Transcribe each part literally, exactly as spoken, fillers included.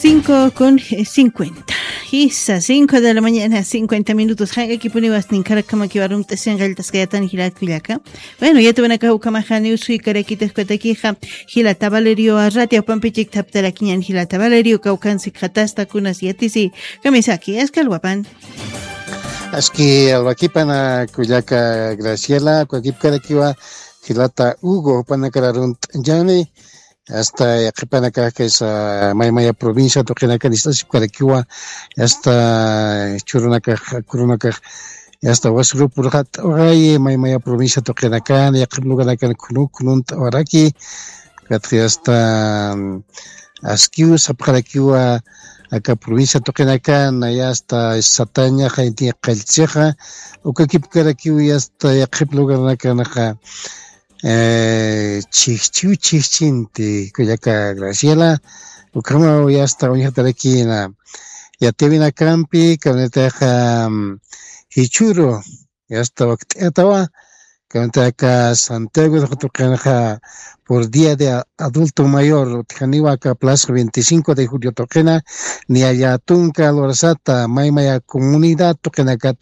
Cinco con cincuenta. Isa, cinco de la mañana, cincuenta minutos. Jaq'akipuniw asninkarakamakiw arumt'asin qalltaskayatan jilat kullaka. Bueno, yatwanaka ukamajaniw suykarakitix katakixa. Jilata Valerio arrati apampichik thaptarakiñan jilata Valerio kawkansi khatastakuna siatisi. Kamisaki askalwapan. Aski alwakipana kullaka Graciela, kwakipkarakiwa jilata Hugo panakara runt'añani. Asta yaqhipanakax kaysa maymaya provincia tuqinakan ist'asipkarakiwa. Asta churunakax kurunakax asta wasrupurxat uxayi maymaya provincia tuqinakan yaqhip luganakan khunu khununta waraki. Katxi asta askiw sapxarakiwa aka provincia tuqinakan aya asta sataña jaynti qallchixa ukakipkarakiwa asta yaqhip lugarnakanaxa. Chijchiw chijchinti kullaka Graciela. Ukhamaw yasta uñjatarakina yatiwinakampi kawnitaxa jichuru yasta wakt'atawa. Kawnitaka Santiago tuqinxa por día de adulto mayor utjaniwa aka plaza veinticinco de julio tuqina niyallatunka lurasata maymaya comunidad tuqinakat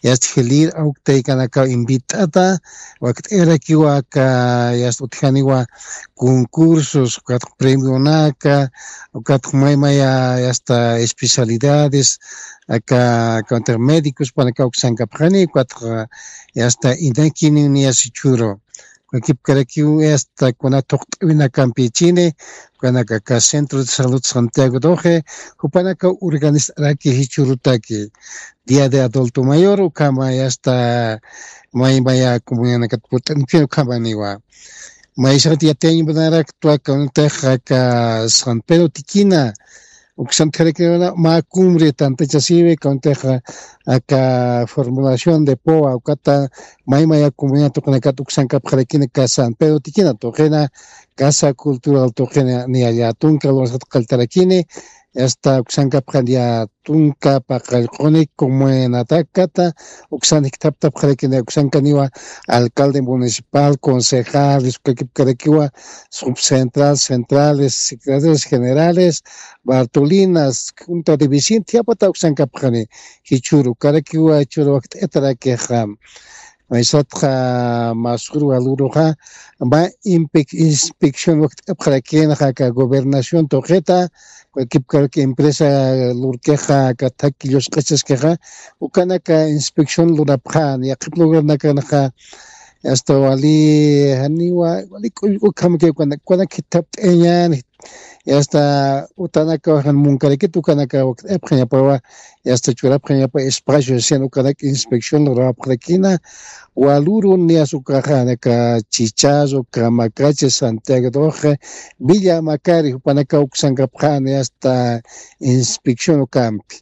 yasta jilir awktaykanakaw invit'ata. Wakt'irakiwa aka yasta utjaniwa concursos ukatx premionaka ukatx maymaya yasta especialidades aka kawantix médicos panaka uksankapxani ukatx yasta inakiniw niyasichuru. Kwakipkarakiw asta kuna thuqt'awinakampichini ukanaka aka centro de salud Santiago doce jupanaka urganist'araki jichurutaki día de adulto mayor ukhama yasta maymaya comunidadnakat purt'anipin ukhamaniwa. Maysaxat yatiyañpanaraktwa kawnitax aka San Pedro tikina uksan tjarakirana mä cumbre tantachasiwi kawnitax aka formulación de poa ukata maymaya comunidad tuqinakat uksankapxarakina aka San Pedro tikina tuqina casa cultural tuqina niyallatunka lurasat qalltarakini. Asta uksankapxan yatunka paqallquni comunidadkata uksan jikthaptapxarakini uksankaniwa alcalde municipal concejales ukakipkarakiwa subcentral centrales secretarios generales bartolinas junta de vecin thiyapata uksankapxani. Jichhuru karakiwa jichhuru wakt'atarakixa maysatxa masuru aluruxa mä inspección wakt'apxarakinaxa aka gobernación tuqita kwakipkaraki empresa lurkixa aka thaki llusq'ichaskixa ukanaka inspección lurapxan yaqhip lugarnakanxa asta wali janiwa wali k'ullk'ukhamaki ukanak jithapt'añan. Asta utanakawaxan munkarakit ukanaka wakt'apxañapawa asta churapxañapa espacio sian ukanak inspección lurawapxarakina. Walurun niyas ukaxa naka chichazo kamakachi santiago doce villa makari jupanaka uksankapxani asta inspección ukampi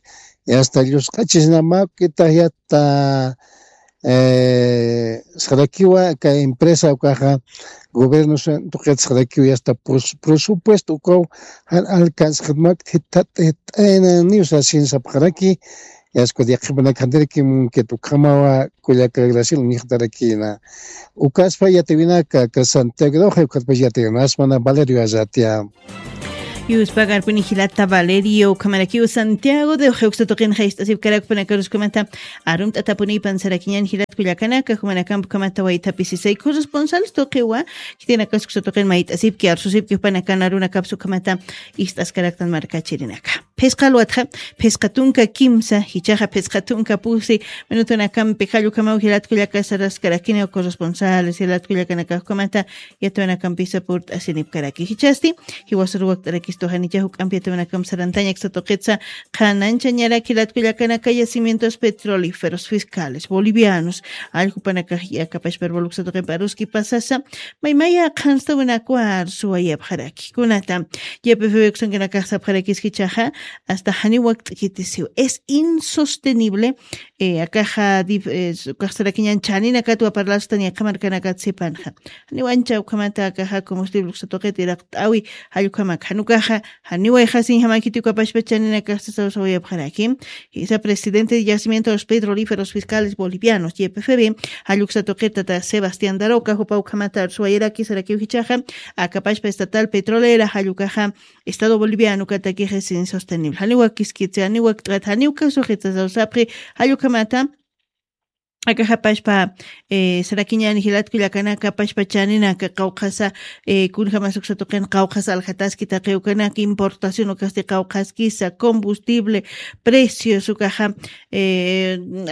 asta llusq'achisnamakita yata sarakiwa aka empresa ukaxa gobierno tuqit sarakiwa asta presupuesto ukaw jan alcanzxatmak jithat'it'aynaniw sasin sapxaraki. Yasku diaqipanak jantiraki munkit ukhamawa kullaka graciel uñjtarakina ukaspa yatiwinaka aka santiago de oje ukatpa yatiwinasmana valerio azatia. Yuspagarpuni jilata valerio ukhamarakiw santiago de oje uksa tuqinxa ist'asipkarakpanakaruskamata arumt'atapunipan sarakiñan jilat kullakanaka jumanakamp ukhamata waythapisisay corresponsales tuqiwa. Jitinakas uksa tuqin mayt'asipki arsusipki jupanakan arunakapsa ukhamata ist'askaraktan markachirinaka. Phisqa alwatxa phisqa tunka kimsa jichaxa phisqa tunka pusi minutunakampi jallukamaw jilatkullaka saraskarakina corresponsales jilatkullakanakaxkamata yatwanakampisa purt'asinipkaraki jichasti jiwasur wakt'arakistu janicha juk'ampi yatwanakamp sarantañaksa tuqitsa qhananchañaraki jilatkullakanaka yacimientos petrolíferos fiscales bolivianos alljupanakax yakapashpar boluksa tuqimpa aruski pasasa maymaya qhanstawinakwa arsuwayapxaraki kunata. Ypfb uksankanakax sapxarakis jichaxa asta janiw wakt'kitisiw es insostenible. Akaxa ukaxsarakiñan chaninakatwa parlastan yaqha markanakat sipanxa janiw ancha ukhamata akaxa combustible uksa tuqit iraqt'awi jallukhamak janukaxa janiw ayxasiñ jamakiti ukapashpa chaninakax sasawsawayapxaraki. Jisa presidente de yacimientos petrolíferos fiscales bolivianos ypfb jalluksa tuqit tata sebastián daroca jupa ukhamata arsuwayaraki sarakiw jichaxa akapashpa estatal petrolera jallukaxa Estado boliviano katakixis insostenible janiwa kiskitsi janiwa kt'at janiwa kasuxitsa sawsapxi. Jallukhamata akaxapashpa sarakiñani jilatkullakanaka pashpa chaninaka qawqhasa kunjamas uksatuqin qawqhasa aljataski taqiwkanaka importación ukasti qawqhaskisa combustible precios ukaxa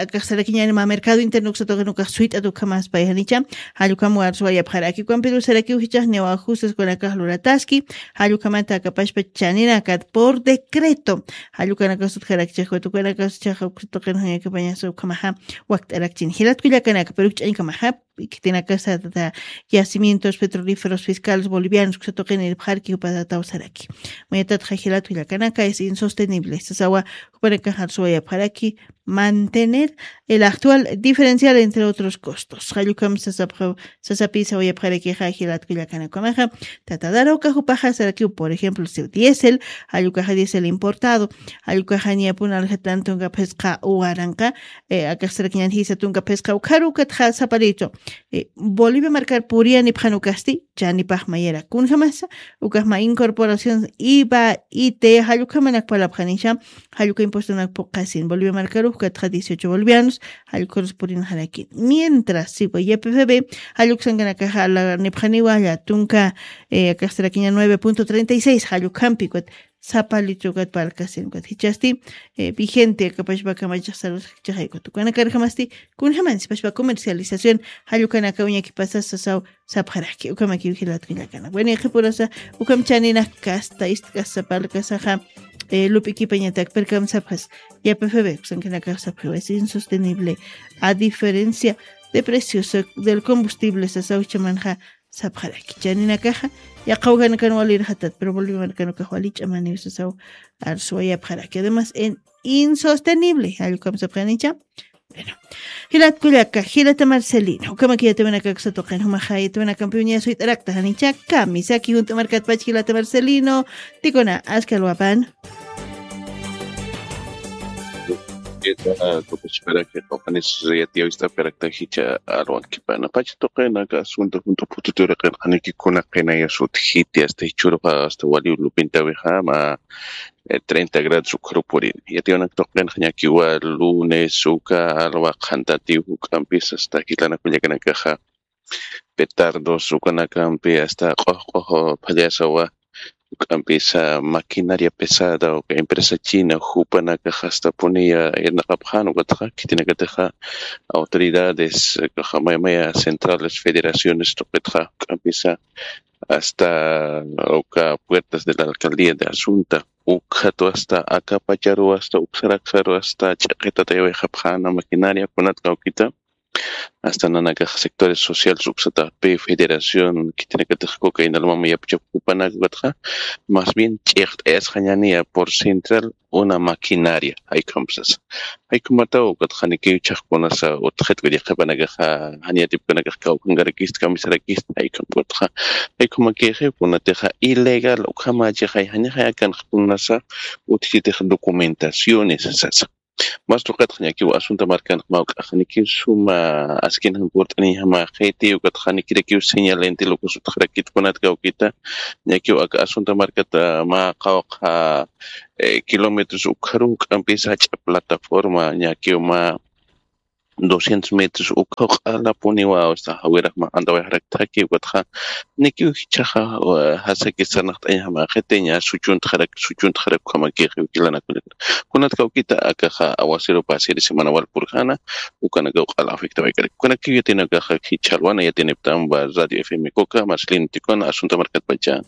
akax sarakiñani ma mercado interno uksatuqin ukax suyt'at ukhamas payjanicha. Jallukam warsuwayapxaraki ukampiru sarakiw jichaxniwa ajustaskunakax lurataski. Jallukhamata akapashpa chaninakat por decreto jallukanakasut jarakchaxwat ukanakasut chaxa uksatuqin jañakapañasa ukhamaxa wakt'arakchini jilatkullakanaka pero ukch'añkamaxa khitinakasata yacimientos petrolíferos fiscales bolivianos uksatuqin irpxarki jupatataw saraki. Mayatatxa jilatkullakanaka es insostenible sasawa jupanakaxar suwayapxaraki mantener el actual diferencial entre otros costos jallukam sasapxa sasapisa uyapxarakixa jilatkullakanakamaxa. Tatadara uka jupaxa sarakiw por ejemplo siw diésel jallukaxa diésel importado jallukaxa ñapun aljatantunka phisqa uwaranqa akax sarakiñan jisa tunka phisqa ukharu ukatxa saparichu bolivia markar puriyan ipxan ukasti chanipax mayara kunjamasa ukaxma incorporación iva ite jallukamanak palapxanisha. Jalluka impuestonak puqasin bolivia markarux ukatxa dieciocho bolivianos jallukarus purinxarakin mientras siwa ypfb jalluksankanakaxa alanipxaniwa llatunka akaxsarakiña nueve punto treinta y seis jallukampi ukat sapalichukat palkasin ukat jichasti vigente akapashpa kamachaxsarus jichaxaykuta ukanakarjamasti kunjaman sipashpa comercialización jallukanaka uñakipasa sasaw sapxaraki ukamakiw jilatkullakana bueno yaqhipurasa ukamchaninak kasta istk'asa palkasaxa lup'ikipañatak perkam sapxas yapafebe uksankanakax sapxiwa es insostenible a diferencia de precios del combustible sasaw chamanxa sapxaraki chaninakaxa yaqhawkanakan walirxatat pero boliviamarkanukax walich'amaniw sasaw arsuwayapxaraki además en insostenible jallukam sapxanicha. Bueno, jilatkullaka jilata marcelino ukamaki yatawinakak satuqin jumaxa yatawinakampi uñasuyt'arakta janicha kamisaki junt'amarkatpach jilata marcelino tikuna askalwapan. Kupachparaki qawqanis yatiyawist'apkarakta jicha alwankipana pacha tuqinaka asunta junta pututuriqin janikikuna qinayasut jiti asta jichuruqa asta waliw lupintawixa ma treinta grados ukharupurin yatiyanak tuqinxa ñakiwa lunes uka alwa qhantatiw juk'ampis asta jilanakullakanakaxa petardos ukanakampi asta q'uq'uq phallasawa juk'ampisa maquinaria pesada uka empresa china jupanakax astapuniya irnaqapxan ukatxa khitinakatixa autoridades kaxa maymaya centrales federaciones tuqitxa juk'ampisa asta uka puertas de la alcaldía de asunta ukhatu asta akapacharu asta uksaraksharu asta ch'iqitatayawayxapxana maquinaria kunat kawkita asta nanakax sectores sociales uksatapi federación khitinakatix kuka inalmama yapuchapkupanakatxa mas bien ch'iqt'ayasxañaniya por central una maquinaria jaykumpsasa jaykumataw ukatxa nikiw chhaqkunasa utxitku yaqhipanakaxa janiyatipkunakax kawkankarakista kamisarakista jaykumpkatxa jaykumakixiw kunatixa ilegal ukhamachixay janixa akanxkunasa utjitix documentaciones sasa mas tuqitxa ñakiw asunta markanx mawk'axa nikiw suma askinxan purt'aniñjama qhiti ukatxa nikirakiw señal intil uka sutxarakit kunat kawkita ñakiw aka asunta markata mä qawqha kilómetros ukharu juk'ampisa jach'a plataforma ñakiw mä doscientos metros ukhaw q'alapuniwa asta jawirax mä antawayxarakta jaki ukatxa nikiw jichhaxa jasakis sarnaqt'añjama qhitiña suchuntxarak suchuntxarak ukhamakixiw jilanakullakuna kunat kawkita akaxa aguacero pasiri semana wal purjana ukanakaw q'ala afectawaykarak ukanakiw yatinakaxa jichhalwana yatiniptamwa radio fm kuka marcelino tikuna asunta markatpacha.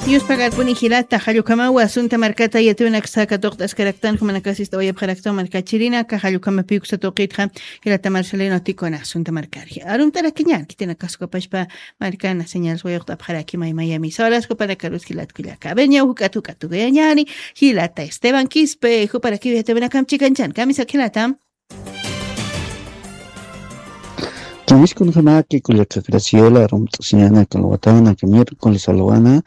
Yuspagarpuni jilata jallukamawa asunta markata yatiwinaksa katuqt'askaraktan jumanakasista wayapxarakta markachirinaka jallukamapiw kusa tuqitxa jilata marcelino tikuna asunta markari arumt'arakiñan khitinakasukapashpa markana señal suwayuqt'apxaraki maymayami sawalaskupanakarus jilatkullaka abeñaw juk'at juk'at tukayañani jilata esteban quispe juparakiw yatiwinakam chikanchan kamisak jilata. Kamiskunxamaki kullaka graciela rumt'asiñana kalwatana ka miércoles alwana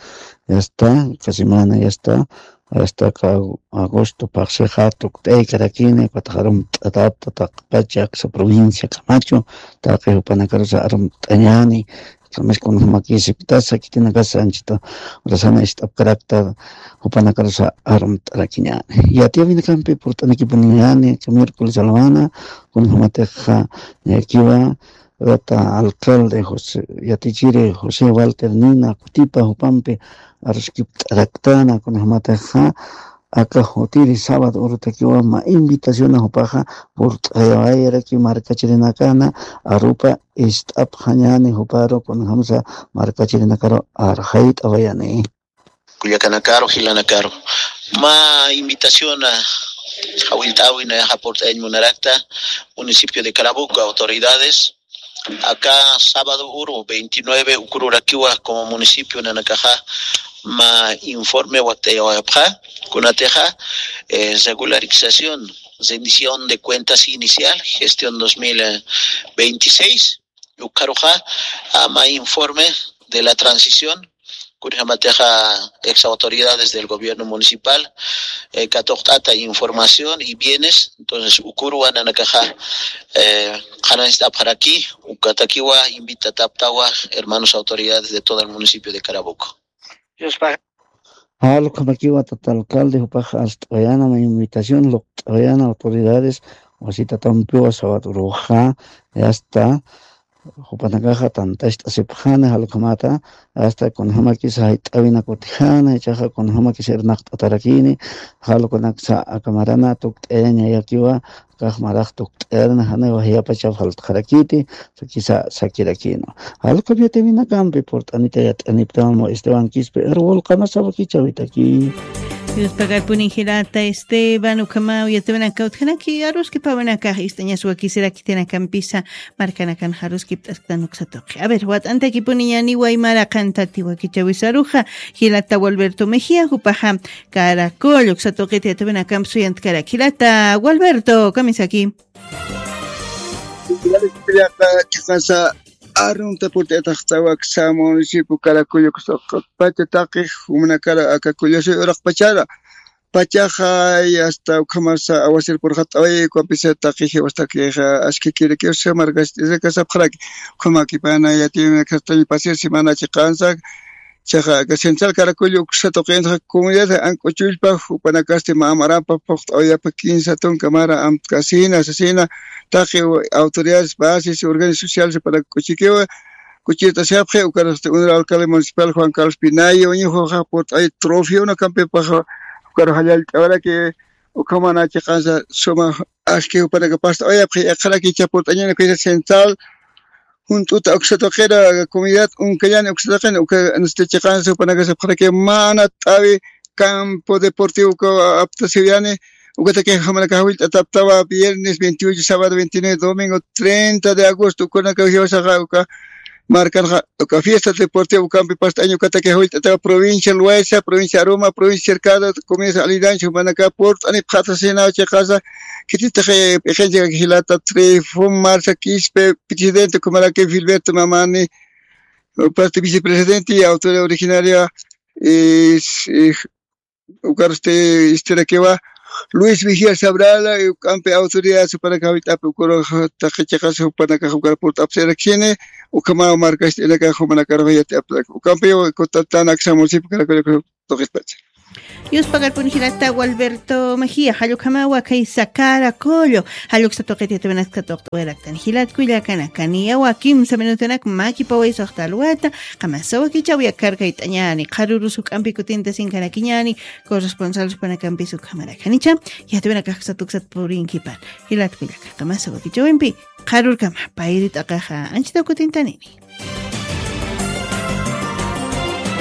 ya está ka semana ya está ya está ka agosto paqsixa tukt'aykarakini ukataxa rumt'atata taqpacha aksa provincia kamachu taqi jupanakarusa arumt'añani. Kamis kunjamakisiptasa khitinakasa anchita urasana ist'apkarakta, jupanakarusa arumt'arakiñäni. Yatiyawinakampi purt'anikipuniñäni, miércoles alwana, kunjamatixa ñakiwa, rata alcalde José, yatichiri José Walter Nina kutipa jupampi aruskipt'araktana, kunjamatixa aka jutiri sábado urutakiwa mä invitación jupaxa purt'ayawayaraki markachirinakana, arupa ist'apxañäni juparu, kunjamsa markachirinakaru arxayt'awayani. Kullakanakaru, jilanakaru. Mä invitación, ah, jawillt'äwi nayaxa purt'ayañ munarakta, municipio de Caraboco, autoridades, aka sábado uru veintinueve ukururakiwa como municipio nanakaxa mä informe wakt'ayawayapxa, kunatixa, eh, regularización, rendición de cuentas inicial, gestión dos mil veintiséis, ukharuxa, ah, mä informe de la transición, kunjamatixa ex autoridades del gobierno municipal, eh, katuqt'ata información y bienes, entonces ukuruwa nanakaxa, eh, qhananchit'apxaraki, ukatakiwa invitataptawa hermanos autoridades de todo el municipio de Caraboco. Yuspa. Jalukamakiwa tata alcalde, jupax arst'awayana, mä invitación luqt'awayana autoridades, wasitatampiwa sabat uruxa, ya está. Jupanakaxa tantacht'asipxani jalukhamata, hasta kunjamakis jayt'awina kutijani, ichaxa kunjamakis irnaqt'atarakini, jalukanaksa aka marana tukt'ayañayakiwa, kax marax tukt'ayarna janiwa jiyapacha faltxarakiti, sakisa sakirakinu. Jalukham yatiyawinakampi purt'anita yat'aniptamamu Esteban Quispe, Erwol, qamasa wakichäwitaki. Yuspagarpuni jilata Esteban, ukhamaw yatiyawinaka utjanaki, aruskipawinakax ist'añas wakisiraki khitinakampisa, markanakan aruskipt'asktan uksa tuqi. A ver, wat'antakipuniñäni waymara qantati wakichäwisaruxa, jilata Gualberto Mejía, jupaxa Caracol uksa tuqita yatiyawinakampi suyantkarak. Jilata Gualberto, kamisaki. Chiqasa arunta purt'ayataxtawa aksa municipio Caracol uksa tuqit pacha taqi jumanakara aka kullasuy uraqpachara. Pachaxa, y hasta ukhamasa aguacero purxat'away, ukampisa taqi jiwastaki askikirakiwsa markast'iraka sapxaraki. Ukhamakipana yatiyawinakastañ pasir semana chiqansa, chaxa aka Central Caracollo uksa tuqinxa comunidad Ank'uchullpa, jupanakasti mä marampa phuqt'awayapa kinsa tunka mara amtkasina, sasina, taqi autoridades, bases, organizaciones sociales, jupanak k'uchikiwa, k'uchirt'asipxi, ukarasti unur alcalde municipal Juan Carlos Pinayo, uñuxuxa purt'ay trofeo unakampipaxa, ukar jallallt'awaraki, ukhamana chiqansa suma aski jupanaka past'awayapxi, iqharaki icha purt'añana kuysa Central, junt'uta uksa tuqira comunidad Unkayani uksa tuqina, uka, este, chiqansa jupanaka sapxaraki mana t'awi campo deportivo uka aptasiwayani, ukataki jumanaka jawillt'ataptawa viernes veintiocho, sábado veintinueve, domingo treinta de agosto, ukanaka jiwasaxa uka markanxa uka fiesta deportiva ukampi past'aña, ukataki jawillt'atawa provincia Loayza, provincia Aroma, provincia Cercado, comunidad aledañas, jumanaka purt'anipxatasina chiqasa, khititix p'iqinchak jilata Trifón Marza Quispe, presidente, ukhamaraki Filberto Mamani, parte vicepresidente y autoridad originaria, eh, s-, eh, ukarsti istirakiwa Luis Vigía Sabrala, y ukampi autoridad supanaka jawillt'api ukuru taqi chiqas jupanaka ukar purt'apsiraksini, ukhama markast'inaka jumanaka rojayati aptaka. Ukampi kutatan aksa municipio Caracol tuqispacha. Yuspagarpun jilata Gualberto Mejía, jallukhamawa kaysa Caracollo, jalluksa tuqit yatiyawinaksa tuqt'awayaraktan. Jilat kullakanaka, niyawa kimsa minutunak makipaway suxta alwata, qamasa wakichäwi akarkayt'añäni, qharürus juk'ampi kutinta sinkarakiñäni, corresponsal supanakampis ukhamaraki. Janicha, yatiyawinakax uksat uksat purinkipan. Jilat kullaka, qamasa wakichäwimpi, qharürkama, payri t'aqaxa, anchitaw kutintanini.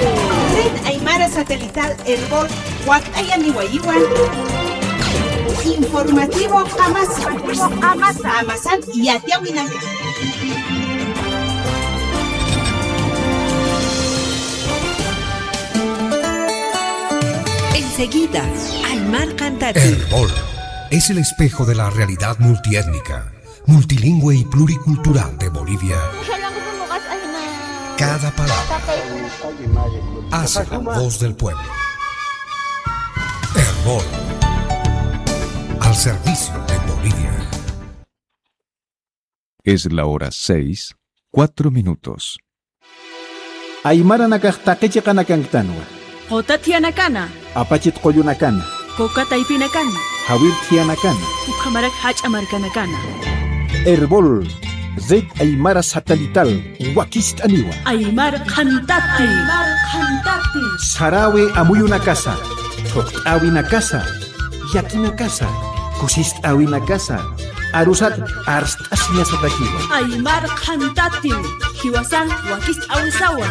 Red Aymara Satelital Erbol, wakt'ayaniwayiwan. Informativo Qamasa. Qamasa. Qamasan yatiyawinaka. Enseguida, Aymar Qantati. Erbol es el espejo de la realidad multiétnica, multilingüe y pluricultural de Bolivia. Cada palabra hace la voz del pueblo. Erbol, al servicio de Bolivia. Es la hora seis, cuatro minutos. Aymaranakax taqi chiqanakanktanwa. Quta thiyanakana. Apachit qullunakana. Quka taypinakana. Jawir thiyanakana. Ukhamarak jach'a markanakana. Erbol, Red Aymara Satelital, wakist'aniwa. Aymar qhantati. Aymar qhantati. Sarawi amuyunakasa, thuqt'awinakasa, yakinakasa, kusist'awinakasa, arusat arst'asiñasatakiwa. Aymar qhantati, jiwasan wakist'awisawa.